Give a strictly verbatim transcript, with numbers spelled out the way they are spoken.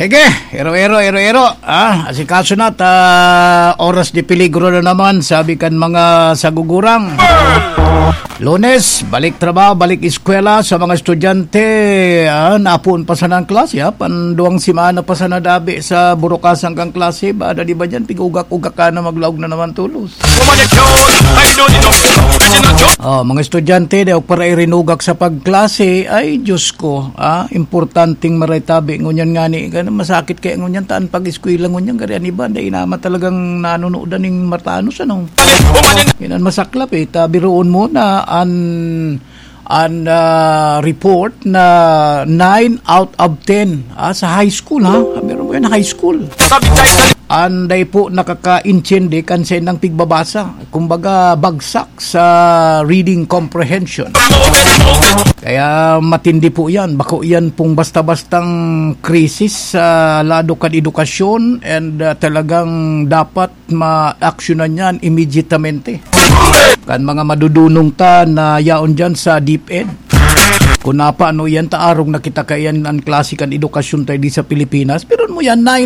Sige, ero-ero, ero-ero. Ah, asikaso na ta, oras de peligro na naman, sabi kan mga sagugurang. Lunes, balik trabaho, balik eskwela sa mga estudyante. Ah, napoon pa sana ang klase, ha? Panduwang semana pa sana dabi sa burukasan kan klase. Bada di ba dyan, pig-ugak-ugak ka na, maglaog na naman tulos. Oh, mga estudyante, di ako para irinugak sa pagklase. Ay, Diyos ko, ah, importanteng maritabi. Ngunyan nga ni, ganun, masakit kaya ngunyan, taan pag-eskwela ngunyan, gari an iba, dai naman talagang nanunodan ning matanos, ano? Yan ang masaklap, eh. Ta, biruon mo na an, an, ah, report na nine out of ten, ah, sa high school, ha? Meron mo yan, high school. An dai po nakakaintindi kan saindang pigbabasa. Kumbaga, bagsak sa reading comprehension. Kaya matindi po yan. Bako yan pong basta-bastang krisis sa lado kan edukasyon, and, ah, talagang dapat ma-aksyonan yan immediatamente. Kan mga madudunong ta na yaon dyan sa DepEd. Kung napa, ano yan, ta arog na kita kaiyan an klase kan edukasyon tayo di sa Pilipinas. Pero mo yan, nine